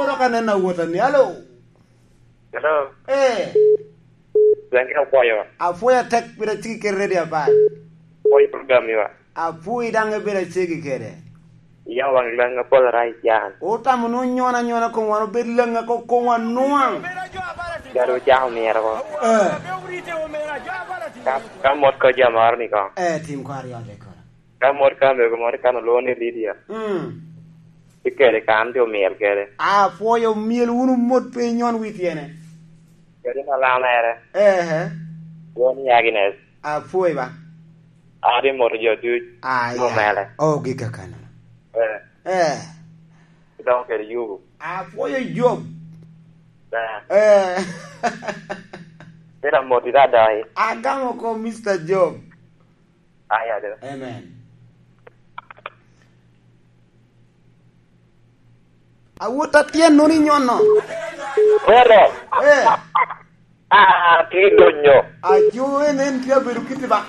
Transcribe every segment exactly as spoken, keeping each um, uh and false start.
Dok aneno awota ni, alo. Hello. Eh. Dange apwoyo. Apwoyo atek, pire ciki kede ready apat. Apwoyo program iwa. Apwoyo daŋ ibedo acegi kede. Ya waŋ laŋ apol ara i can. Otamo ni onyon anyona kom wan obed laŋ ako kom wan nwaŋ. Gado ocako myero ko. Eh. Ka, ka mot ko jam moro ni ko. Eh, tim kwar yode kono. Ka mot ka mego moro kan olwoŋo ni Lydia. Mm. Ikele kan ti omyel kede. Apwoyo myel wunu mot pe inyon wi tyene. Kede na lamere. Ehe. Won Agnes. Apwoyo ba. Adi moto jo duc. Ah, mo ya. Mele. Oh, gika kana. Eh. Eh. Idong kede yubu. Apwoyo Job. Eh. Eh. Ina moti da dai. Agamo ko Mister Job. Aya de. Amen. Awot atyen nuni nyono. Brother. Eh. Ah, ti donyo. Ajo en en tye abedo kiti ba.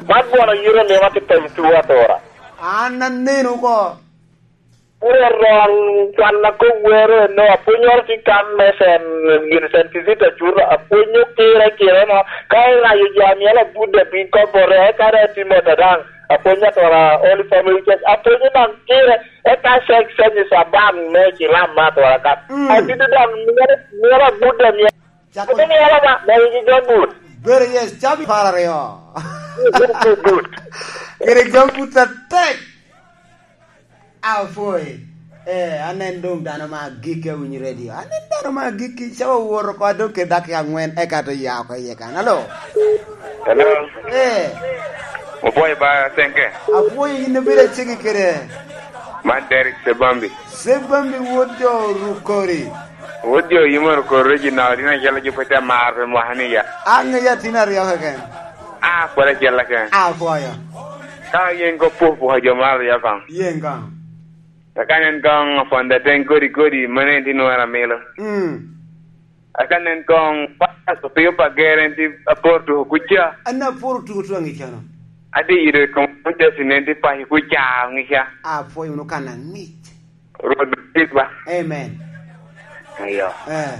Man bwana yiro ni ma ti pem tuwa tora. An aneno ko. Puro rong can a kok wero eno, apwonyoro tye kan me Sen, gin Sen Kizito Acuto, apwonyo kire kire no, ka irayo jo a myel abuda piny kopporo, eka daŋ Timothy daŋ, apwonyo atwara Holy Family Church, apwonyo daŋ kire, eka Sen, Sen Saban me Cilam me atwara kan. Mm. Atidi daŋ myel, myel abuda myel. Cako. Ati myel ama, me igi jo but. Very yes, cabi par aryo. Very good. Kede jo but atek. Apwoyo. Eh, anen doŋ dano ma agikki awinyo redio. Anen dano ma agikki, ca owoto oko adok kede dakika angwen, eka to ya oko iye kan. Alo? Hello. Eh. Opwoyo ba Senke. Apwoyo in obedo acegi kede. Man Derek Sebambi. Sebambi wod jo Rukori. Wod jo Yimoro Koro Regional, in acel a jupe te mar pe mwaka ni ya. Aŋe ya tin aryo keken. Ah, kwala acel keken. Apwoyo. Ka yen ko puh puh jo mar ya kan. Yen kan. Ka nen koŋ aponda teŋ kodi kodi, mano en ti nwara milo. Mm. Aka nen koŋ, pasto pio pa gere en ti aporo tuko kuca. An aporo tuko tuko aŋica no. Ati yido i kom Jesse nen ti paco kuca aŋica. Apwoyo wunu kan aŋic. Rwot bed ba. Amen. Ayo. Eh.